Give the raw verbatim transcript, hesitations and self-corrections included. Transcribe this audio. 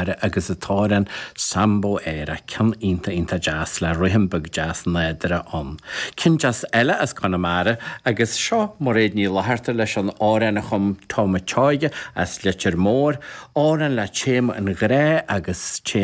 agus an t-amhrán Sambo Éire ceann iontach iontach deas le rithim beag deas nádúrtha ann. Ceann deas eile as Conamara agus seo Mairéad Ní Fhlatharta leis an amhrán a chum Tom Seoige as Leitir Móir, amhrán le téama an ghrá agus téama